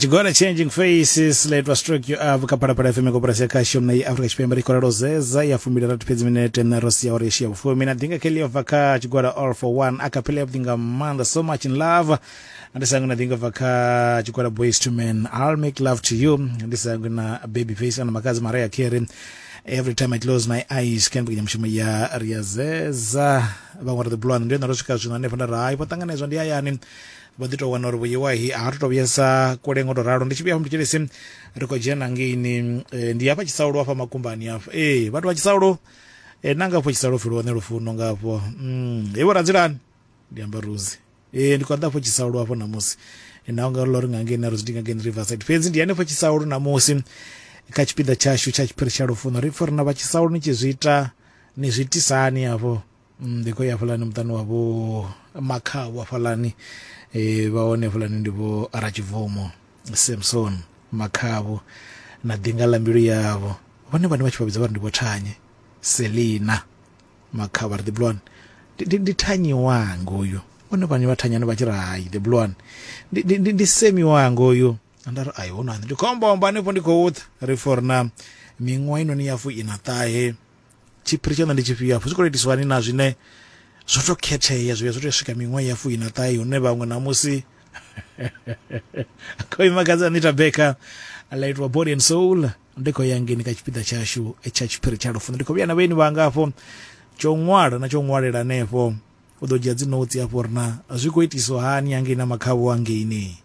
Tshigwada Changing Faces ḽa stroke you up kha Phalaphala FM koporasi ya khasho na ya Afrika Tshipembe ri khou ralo zeza ya fumbili rathi fhedzi minete na ro sia uri ya vhufumi na ḓinga Kelly bva kha tshigwada All for One a cappella ya vhuḓi nga maanḓa So Much in Love ndi sango na ḓinga bva kha tshigwada Boys to Men I'll Make Love to You ndi sango na Baby Face ana makazi Mariah Carey Every Time I Close My Eyes kha mbekanyamushumo ya Riazeza vhaṅwe ri ḓi bulwana ndi yone ro swika zwino hanefho nda ri hai vho ṱanganedzwa ndi hayani vho ḓi tou wana uri vhuyiwahi a ri to vhuyesa kule ngo to ralo. Ndi tshi vhuya hafha mthetshelesi ri khou dzhena ngeini ndi hafha Tshisaulu hafha makumbani hafha ee vhathu vha Tshisaulu na nga hafho Tshisaulu pfi lone lufuno nga hafho he vho radzilani ndi amba Ruzi ee ndi khou ḓa hafho Tshisaulu hafho ṋamusi naho nga ḽo ri nga ngei na Ruzi ndi nga ngei Riverside fhedzi ndi hanefho Tshisaulu ṋamusi kha tshipiḓa tshashu tsha tshiphiri tsha lufuno ri pfha uri na vha Tshisaulu ni tshi zwi ita ni zwi itisani hafho. Ndi khou ya hafhaḽani muṱani wa vho Makhavhu hafhaḽani vha hone hafhaḽani ndi vho Ratshibvumo Samson Makhavhu na ḓinga ḽa mbilu yavho vhone vhane vha tshi vha vhidza vha ri ndi vho Thanye Selina Makhavhu vha ri the blue one ndi, ndi Thanyi wanga uyu vhone vhane vha thanyani vha tshi ri hai the blue one ndi, ndi, ndi, ndi Semi wanga uyu nda ri ai hono ndi khombo hanefho ndi khou ḓa ri for na miṅwaha inoni ya fu ina ṱahe Tshiphiri tshaṋu ndi tshifhio afho? Zwi khou itiswa hani na zwine zwo to khethea zwi vhuya zwo tea u swika miṅwaha ya fuiṋa ṱahe hune vhaṅwe ṋamusi khou ima kadzi Anita Baker ḽa itwa Body and Soul ndi khou ya ngeni kha tshipiḓa tshashu tsha tshiphiri tsha lufuno ndi khou vhuya na vhaeni vhanga afho tsho ṅwala na tsho ṅwalela hanefho u ḓo dzhia dzi notes afho uri na zwi khou itiswa hani hangei na makhavhu hangeini.